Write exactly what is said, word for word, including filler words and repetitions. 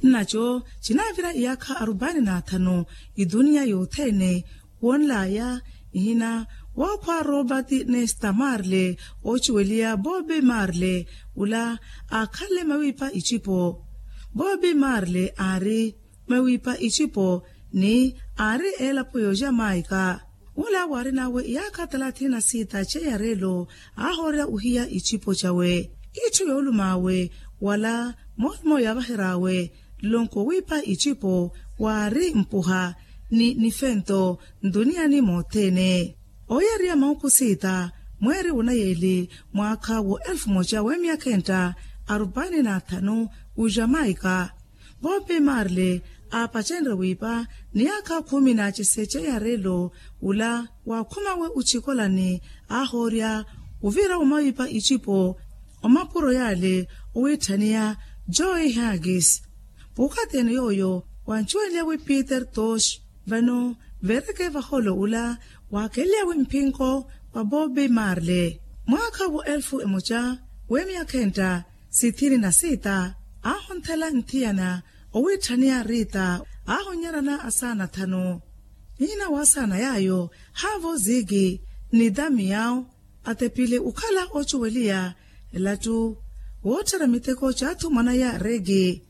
Nnaco cinaavira iyaakha arupaani n'athanu ituniya yothene. Wonlaya ihina wookhwa robert nesta marle ocuweliya bobi marle ula aakhanle mawiipa icipo. Bobi marle aari mawiipa icipo ni aari eelapo yooja maika. Ula waarin'awe iyaakha talathini na sita ceyarelo aahoorya ohiya icipo cawe. Itthu yoolumawe wala moolumo yaavaher'awe nlonko wiipa icipo waari mpuha ni nifento ntuniyani mothene. Oyariya mauku sita mweeri wunayeli mwaakha wo elfu moja wemyakha enta arupaani na thanu ujamaika. Bopi marle aapacenre wiipa ni yaakha khumi na cise ceyarelo ula waakhumawe ucikolani aahoorya uvira wamawiipa icipo. Omapuro yale owiitthaniya joy hagis puukatene yooyo wancuweliyawe peter tosh. Vano vereke vaholo ula waakeleliyawe mphinko wa bobi marle mwaakha wo elfu emoca wemyakha enta sithini na sita aahonthela nthiyana owiitthaniya rita aahonyerana asaana thanu. Niina waasaana yaayo haavo ziki ni damiyao atepile okhala ocuweliya elattu wootthera miteko caathu mwanaya reki.